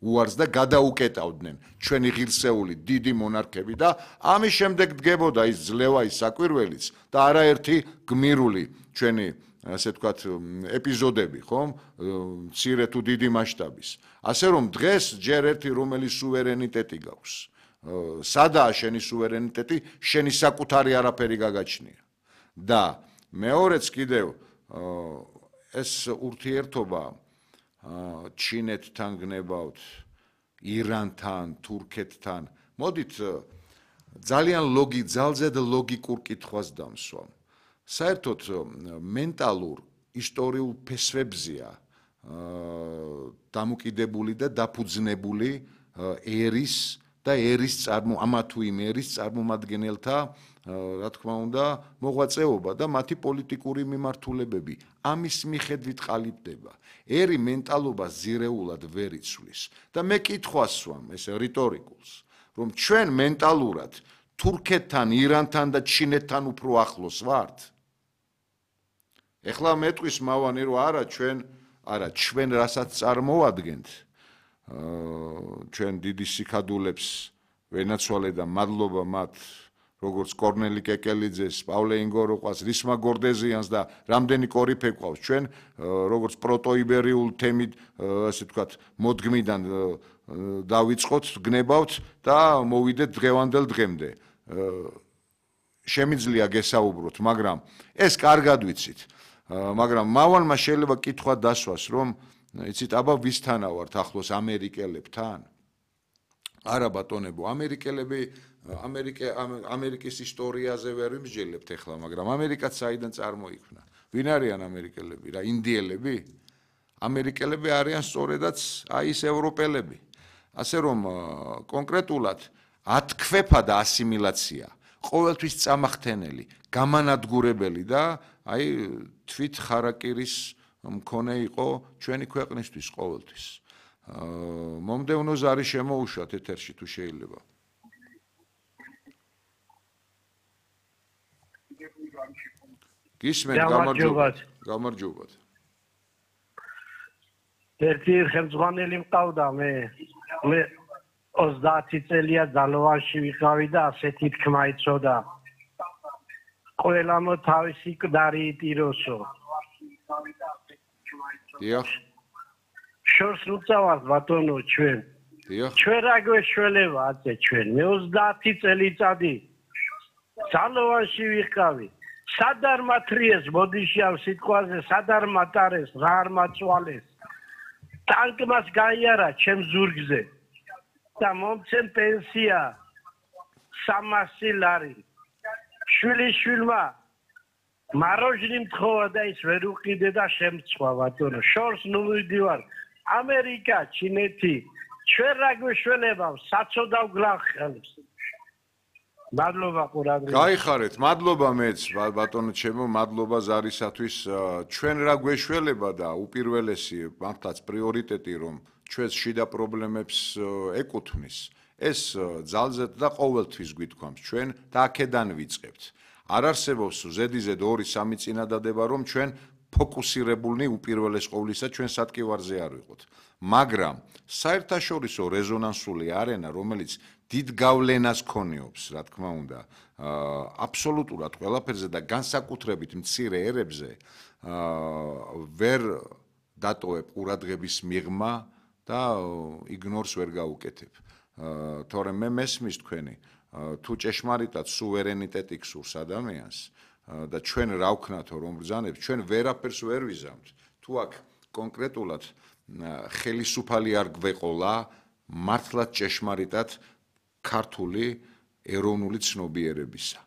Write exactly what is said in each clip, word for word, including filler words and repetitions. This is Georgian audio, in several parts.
უარს და გადაუკეტავდნენ ჩვენი ღირსეული დიდი მონარქები და ამის შემდეგ დგებოდა ის ძლევა ის საკვირველიც და არაერთი გმირული ჩვენი ასე ვთქვათ ეპიზოდები ხომ მცირე თუ დიდი მასშტაბის ასე რომ დღეს ჯერ ერთი რომელი სუვერენიტეტი გაქვს სადაა შენი სუვერენიტეტი შენი საკუთარი არაფერი გაგაჩნია და მეორეც კიდევ ეს ურთიერთობა ჩინეთთან გნებავთ ირანთან თურქეთთან მოდით ძალიან ლოგი ძალზედ ლოგიკურ კითხვას დამსვამ საერთოდ მენტალურ ისტორიულ ფესვებზია დამოკიდებული და დაფუძნებული ერის და ერის წარმო ამა თუ იმ ერის წარმომადგენელთა რა თქმა უნდა მოღვაწეობა და მათი პოლიტიკური მიმართულებები ამის მიხედვით ყალიბდება ერი მენტალობას ზირეულად ვერ იცვლის და მე კითხვას ვამ ეს რიტორიკულს რომ ჩვენ მენტალურად თურქეთთან ირანთან და ჩინეთთან უფრო ახლოს ვართ ეხლა მეტყვის მავანი რომ არა ჩვენ არა ჩვენ რასაც წარმოვადგენთ ჩვენ დიდი სიქადულებს ვენაცვალე და მადლობა მათ როგორც კორნელი კეკელიძეს, პავლე ინგოროყვას, რისმა გორდეზიანს და რამდენი კორიფე ყავს ჩვენ როგორც პროტოიბერიულ თემით ასე ვთქვათ მოდგმიდან დავიწყოთ გნებავთ და მოვიდეთ დღევანდელ დღემდე შემიძლია გესაუბროთ მაგრამ ეს კარგად ვიცით მაგრამ მავანმა შეიძლება კითხვა დასვას რომ იცით აბა ვისთანა ვართ ახლოს ამერიკელებთან არა ბატონებო ამერიკელები ამერიკე ამერიკის ისტორიაზე ვერ ვიმსჯელებთ ახლა მაგრამ ამერიკაც საიდან წარმოიქმნა ვინ არიან ამერიკელები რა ინდიელები ამერიკელები არიან სწორედაც აი ეს ევროპელები ასე რომ კონკრეტულად ათქვეფა და ასიმილაცია ყოველთვის წამახთენელი გამანადგურებელი და აი თვით ხარაკირის მქონე იყო ჩვენი ქვეყნისთვის ყოველთვის მომდევნო ზარი შემოუშვათ ეთერში თუ შეიძლება გისმენთ გამარჯობათ გამარჯობათ ერთი ხელმძღვანელი მყავდა მე მე ოცდაათი წელია ძალოვანში ვიყავი და ასეთი თქმა იცოდა ყველამ თავისი მკვდარი იტიროსო დიახ შორს უწავართ ბატონო ჩვენ დიახ ჩვენ რა გვეშველება აცე ჩვენ მე ოცდაათი წელიწადი ძალოვანში ვიყავი სად არ მათრიეს ბოდიშავ სიტყვაზე სად არ მატარეს რა არ მაწვალეს ტანკმას გაიარა ჩემ ზურგზე და მომცემ პენსია სამასი ლარი შვილი შვილმა მაროჟნი მთხოვა და ის ვერ უყიდე და შემწვა ბატონო შორს ნუ მივდივარ ამერიკა ჩინეთი ჩვენ რა გვეშველება საწოდავ გლახელს მადლობა ყურადღებას გაიხარეთ მადლობა მეც ბატონო ჩემო მადლობა ზარისათვის ჩვენ რა გვეშველება და უპირველესი მართლაც პრიორიტეტი რომ ჩვენს შიდა პრობლემებს ეკუთვნის ეს ძალზედ და ყოველთვის გვითქვამს ჩვენ და აქედან ვიწყებთ არ არსებობს ზედიზედ ორი სამი წინადადება რომ ჩვენ ფოკუსირებულნი უპირველეს ყოვლისა ჩვენ სატკივარზე არ ვიყოთ მაგრამ საერთაშორისო რეზონანსული არენა რომელიც დიდ გავლენას ქონიობს რა თქმა უნდა აბსოლუტურად ყველაფერზე და განსაკუთრებით მცირე ერებზე ვერ დატოვებ ყურადღების მიღმა და იგნორს ვერ გაუკეთებ თორემ მე მესმის თქვენი თუ ჭეშმარიტად სუვერენიტეტი გსურს ადამიანს და ჩვენ რა ვქნათო რომ ბრძანებს ჩვენ ვერაფერს ვერ ვიზამთ თუ აქ კონკრეტულად ხელისუფალი არ გვეყოლა მართლაც ჭეშმარიტად ქართული ეროვნული ცნობიერებისა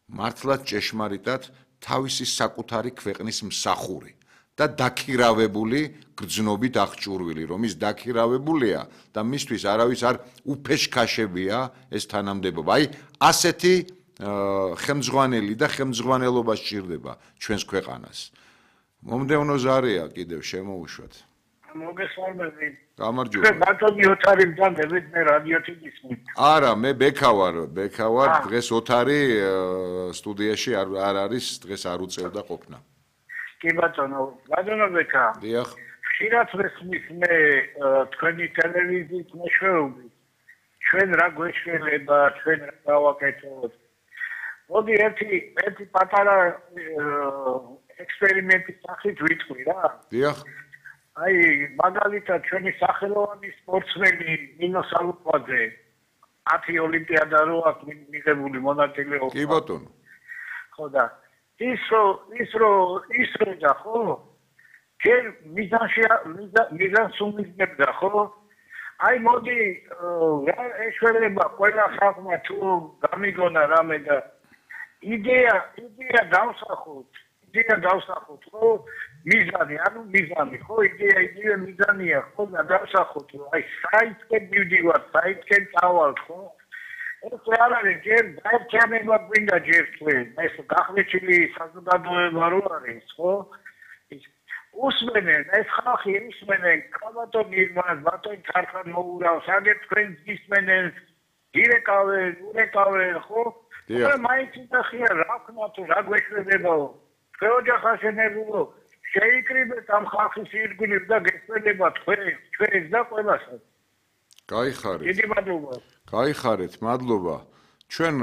მართლაც ჭეშმარიტად თავისი საკუთარი ქვეყნის მსახური და დაქირავებული გრძნობით აღჭურვილი რომ ის დაქირავებულია და მისთვის არავის არ უფეშქაშებია ეს თანამდებობა აი ასეთი ხელმძღვანელი და ხელმძღვანელობა სჭირდება ჩვენს ქვეყანას მომდევნო ზარია კიდევ შემოუშვათ მოგესალმები გამარჯობა ჩვენ ბატონი ოთარი მგზავრდებით მე რადიოთი გისმით არა მე ბექა ვარ ბექა ვარ დღეს ოთარი სტუდიაში არ არის დღეს არ უწევდა ყოფნა კი ბატონო ბატონო ბექა დიახ ხშირად ვესმის მე თქვენი ტელევიზიის მეშვეობით ჩვენ რა გვეშველება ჩვენ რა გავაკეთოთ მოდი ერთი ერთი პატარა ექსპერიმენტის სახით ვიტყვი რა დიახ აი მაგალითად ჩვენი სახელოვანი სპორტსმენი ნინო სალუკვაძე ათი ოლიმპიადა რო აქვს მიღებული მონაწილეობა კი ბატონო ხო და ის რო ის რო ის რო და ხო ჯერ მიზანში მიზანს უმიზნებდა ხო აი მოდი რა ეშველება ყველა ხალხმა თუ გამიგონა რამე და იდეა იდეა დავსახოთ იდეა დავსახოთ ხო მიზანი ანუ მიზანი ხო იდეა იდეა მიზანია ხო და დავსახოთ აი საითკენ მივდივართ საითკენ წავალთ ხო ეს არ არის ჯერ დაერჩენება გვინდა ჯერ თქვენ ეს გახლიჩილი საზოგადოება რო არის ხო უსმენენ ეს ხალხი ისმენენ კაბატონ ირმას ბატონ ქარხან მოურავს აგერ თქვენ ისმენენ ირეკავენ ურეკავენ ხო და მაინც იხია რა ქნა თუ რა გვეშველებაო თქვენ ოჯახაშენებულო შეიკრიბეთ ამ ხალხის ირგვლივ და გესველება თქვენ ჩვენს და ყველასაც გაიხარეთ დიდი მადლობა გაიხარეთ მადლობა ჩვენ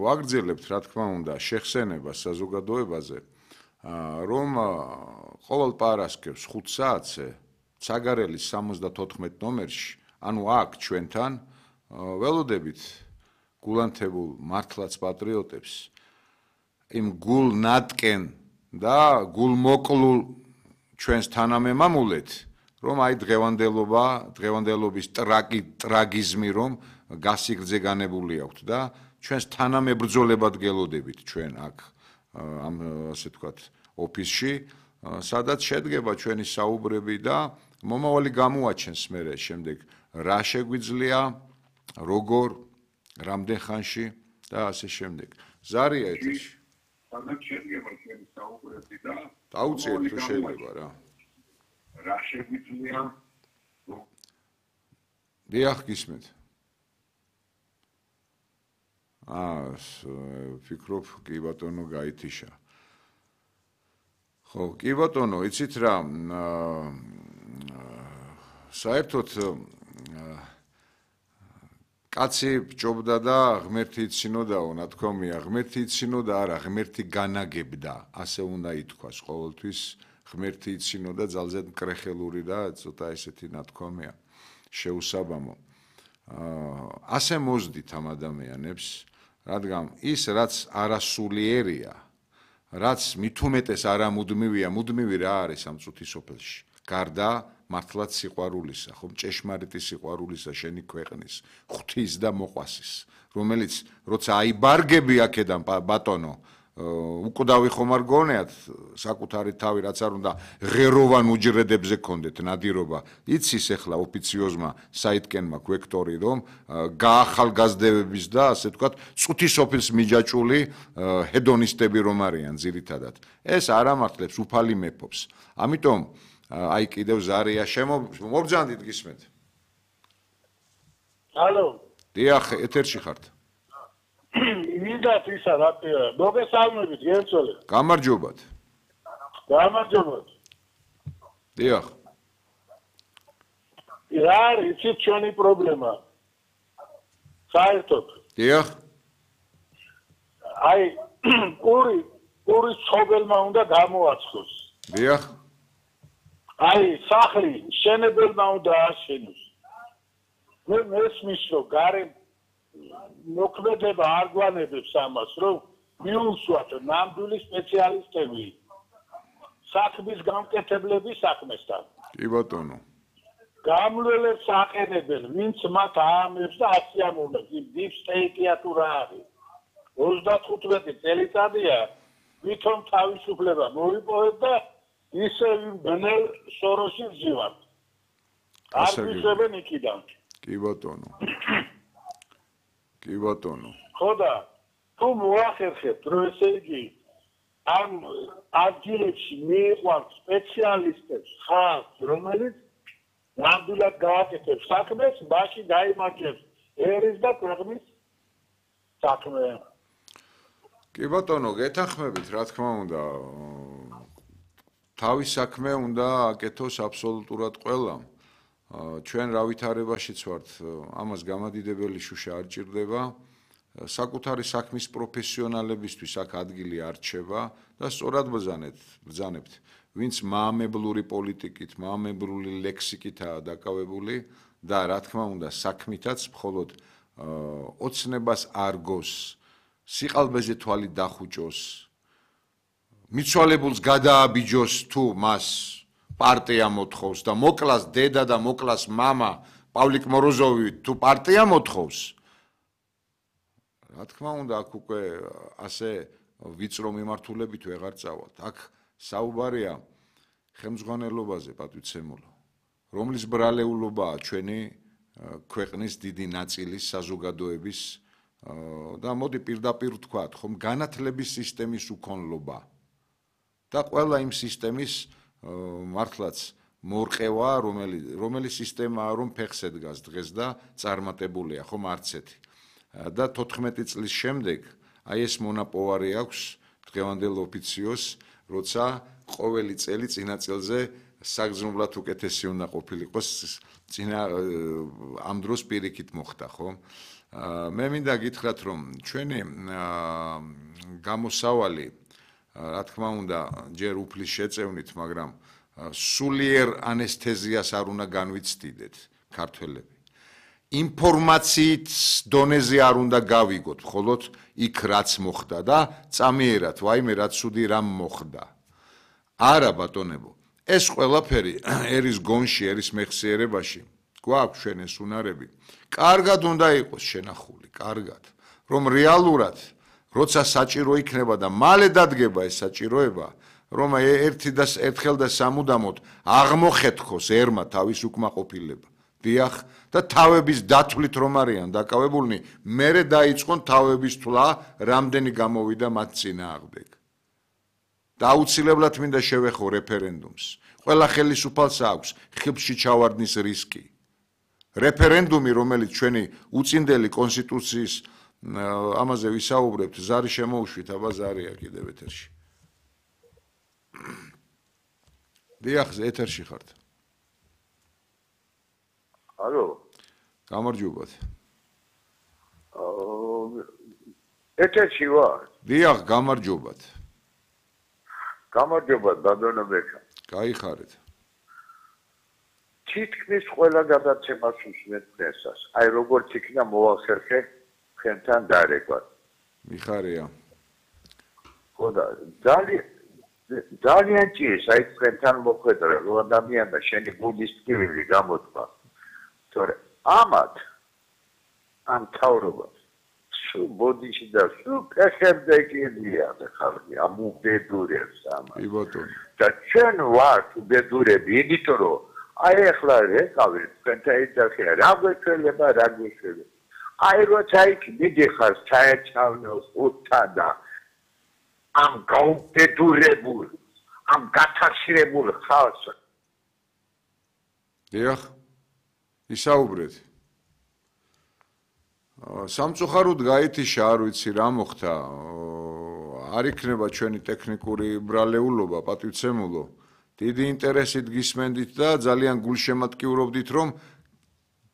ვაგრძელებთ რა თქმა უნდა შეხსენებას საზოგადოებაზე რომ ყოველ პარასკევს ხუთ საათზე ცაგარელის სამოცდათოთხმეტ ნომერში ანუ აქ ჩვენთან ველოდებით გულანთებულ მართლაც პატრიოტებს იმ გულნატკენ და გულმოკლულ ჩვენს თანამემამულეთ რომ აი დღევანდელობა დღევანდელობის ტრაგი ტრაგიზმი რომ გასიგრძე განებული აქვთ და ჩვენს თანამებრძოლებად გელოდებით ჩვენ აქ ამ ასე ვთქვათ ოფისში სადაც შედგება ჩვენი საუბრები და მომავალი გამოაჩენს მერე შემდეგ რა შეგვიძლია როგორ რამდენ ხანში და ასე შემდეგ ზარია ეთერში სადაც შედგება ჩვენი საუბრები და დაუწიეთ თუ შეიძლება რა რა შეგვიძლია დიახ გისმენთ აა ფიქრობ კი ბატონო გაითიშა ხო კი ბატონო იცით რა საერთოდ კაცი ბჭობდა და ღმერთი იცინოდაო ნათქვამია ღმერთი იცინოდა არა ღმერთი განაგებდა ასე უნდა ითქვას ყოველთვის ღმერთი იცინოდა ძალზედ მკრეხელური და ცოტა ესეთი ნათქვამია შეუსაბამო ასე მოზდით ამ ადამიანებს რადგან ის რაც არასულიერია რაც მithumetes არამუდმივია მუდმივი რა არის ამ წუთის სოფელში გარდა მართლაც სიყვარულისა ხომ ჭეშმარიტი სიყვარულისა შენი ქვეყნის ღვთის და მოყვასის რომელიც როცა აიბარგები აქედან ბატონო უკვდავი ხომ არ გონიათ საკუთარი თავი რაც არ უნდა ღეროვან უჯრედებზე გქონდეთ ნადირობა იცის ახლა ოფიციოზმა საიტკენმა გვექტორი რომ გაახალგაზრდების და ასე ვთქვათ წუთის ოფილს მიჯაჭული ჰედონისტები რომ არიან ძირითადად ეს არ ამართლებს უფალი მეფობს ამიტომ აი კიდევ ზარია შემობრძანდით გისმენთ ჰალო დიახ ეთერში ხართ მინდათ ისა რა მოგესალმებით გერწოლე გამარჯობათ გამარჯობათ დიახ რა არის იცით ჩვენი პრობლემა საერთოდ დიახ აი პური პური ცხოველმა უნდა გამოაცხოს დიახ აი სახლი შენებელმა უნდა აშენოს მე მესმის რომ გარე მოქმედება არ გვანებებს ამას რომ მიუსვათ ნამდვილი სპეციალისტები საქმის გამკეთებლები საქმესთან კი ბატონო გამლელებს აყენებენ ვინც მათ აამებს და აციამოვნებს იმ deep state-ია თუ რა არის ოცდახუთმეტი წელიწადია ვითომ თავისუფლება მოიპოვეთ და ისე ბნელ სოროში ვზივართ არ ვისებენ იქიდან კი ბატონო კი ბატონო ხო და თუ მოახერხებთ რომ ესე იგი ამ ადგილებში მიიყვანთ სპეციალისტებს ხალხს რომელიც ნამდვილად გააკეთებს საქმეს მაშინ დაიმარჯვებს ერის და ქვეყნის საქმე კი ბატონო გეთანხმებით რა თქმა უნდა თავის საქმე უნდა აკეთოს აბსოლუტურად ყველამ. ჩვენ რა ვითარებაშიც ვართ, ამას გამადიდებელი შუშა არ ჭირდება. საკუთარი საქმის პროფესიონალებისთვის აქ ადგილი არ რჩება და სწორად ბრძანეთ, ბრძანებთ. ვინც მაამებლური პოლიტიკით, მაამებლური ლექსიკითაა დაკავებული და რა თქმა უნდა საქმითაც მხოლოდ ოცნებას არ გოს, სიყალბეზე თვალი დახუჭოს, მიცვალებულს გადააბიჯოს თუ მას პარტია მოთხოვს და მოკლას დედა და მოკლას მამა პავლიკ მოროზოვი თუ პარტია მოთხოვს. რა თქმა უნდა აქ უკვე ასე ვიწრო მიმართულებით ვეღარ წავალთ. აქ საუბარია ხელმძღვანელობაზე, პატვიცემულო, რომლის ბრალეულობაა ჩვენი ქვეყნის დიდი ნაწილის საზოგადოების და მოდი პირდაპირ ვთქვათ, ხომ განათლების სისტემის უქონლობა და ყველა იმ სისტემის მართლაც მორყევა, რომელი რომელი სისტემაა, რომ ფეხს ედგას დღეს და წარმატებულია, ხომ არც ერთი. და თოთხმეტი წლის შემდეგ აი ეს მონაპოვარი აქვს დღევანდელ ოფიციოს, როცა ყოველი წელი წინა წელზე საგრძნობლად უკეთესი უნდა ყოფილიყოს, წინა ამ დროს პირიქით მოხდა, ხო? მე მინდა გითხრათ, რომ ჩვენი გამოსავალი, რა თქმა უნდა, ჯერ უფლის შეწევნით, მაგრამ სულიერ ანესთეზიას არ უნდა განვიცდიდეთ ქართველები. ინფორმაციით დონეზე არ უნდა გავიგოთ, მხოლოდ იქ რაც მოხდა და წამიერად, ვაიმე რა ცუდი რამ მოხდა. არა ბატონებო, ეს ყველაფერი ერის გონში, ერის მეხსიერებაში გვაქვს ჩვენ ეს უნარები. კარგად უნდა იყოს შენახული, კარგად, რომ რეალურად, როცა საჭირო იქნება და მალე დადგება ეს საჭიროება, რომ ერთი და ერთხელ და სამუდამოდ აღმოხეთქოს ერმა თავის უკმაყოფილება. დიახ, და თავების დათვლით რომ არიან დაკავებულნი, მერე დაიწყონ თავების თვლა, რამდენი გამოვიდა მათ წინააღმდეგ. და აუცილებლად მინდა შევეხო რეფერენდუმს. ყველა ხელისუფალს აქვს ხილში ჩავარდნის რისკი. რეფერენდუმი, რომელიც ჩვენი უწინდელი კონსტიტუციის ამაზე ვისაუბრებთ, ზარი შემოუშვით, აბა ზარია კიდევ ეთერში. დიახ, ეთერში ხართ. ალო. გამარჯობათ. ეთერში ვარ. დიახ, გამარჯობათ. გამარჯობათ, ბატონო ბექა. გაიხარეთ. თითქმის ყველა გადაცემას უსმენთ დღესაც. აი როგორც იქნა მოახერხე ხენთან დარეკვა. მიხარია. ხო და ძალიან ძალიან ჭირს აი ხენთან მოხვედრა, რომ ადამიანმა შენი გულის ტკივილი გამოთქვა. თორე ამათ ამ თავრობას სულ ბოდიში და სულ ფეხებზე კიდია ხალხი ამ უბედურებს ამათ. კი ბატონო. და ჩვენ ვართ უბედურები, იმიტომ რომ აი ახლა რეკავი თქვენთან ერთად რა გვეცვლება, რა გვეცვლება. აი როცა იქ მიდიხარ საერთაშორისო ხუთთან და ამ გაუბედურებულ, ამ გათახშირებულ ხალხს. დიახ. ისაუბრეთ. სამწუხაროდ გაითიშა, არ ვიცი რა მოხდა. არ იქნება ჩვენი ტექნიკური ბრალეულობა, პატივცემულო. დიდი ინტერესით გისმენდით და ძალიან გულშემატკივრობდით, რომ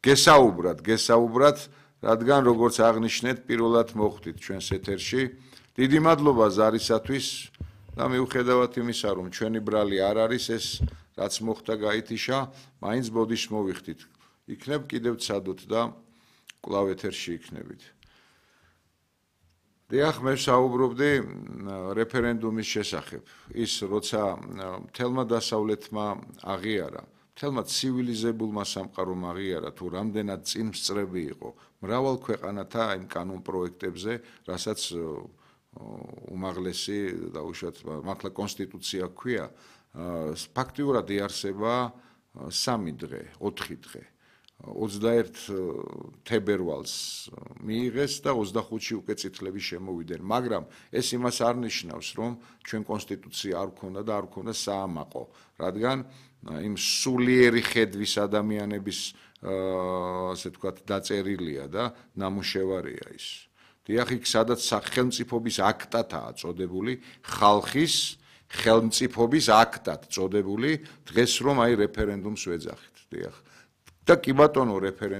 გესაუბრათ, გესაუბრათ, რადგან როგორც აღნიშნეთ, პირველად მოხვდით ჩვენს ეთერში. დიდი მადლობა ზარისათვის და მიუხედავად იმისა, რომ ჩვენი ბრალი არ არის ეს, რაც მოხდა გაითიშა, მაინც ბოდიშს მოვიხდით. იქნებ კიდევ ცადოთ და კვლავ ეთერში იქნებით. დიახ, მე საუბრობდი რეფერენდუმის შესახებ. ის როცა მთელმა დასავლეთმა აღიარა, მთელმა ცივილიზებულმა სამყარომ აღიარა, თუ რამდენად წინსწრები იყო მრავალ ქვეყანათა იმ კანონ პროექტებზე, რასაც უმაღლესი დაუშვათ, მართლა კონსტიტუცია ჰქვია, ფაქტიურად იარსება სამი დღე, ოთხი დღე. ოცდაერთ თებერვალს მიიღეს და ოცდახუთში უკვე წითლები შემოვიდნენ, მაგრამ ეს იმას არ ნიშნავს, რომ ჩვენ კონსტიტუცია არ გქონდა და არ გქონდა საამაყო, რადგან იმ სულიერი ხედვის ადამიანების ასე ვთქვათ დაწერილია და ნამუშევარია ის. დიახ, იქ სადაც სახელმწიფოების აქტათაა წოდებული ხალხის ხელმწიფობის აქტად წოდებული დღეს რომ აი რეფერენდუმს ვეძახით. დიახ. და კი ბატონო რეფერენდუმ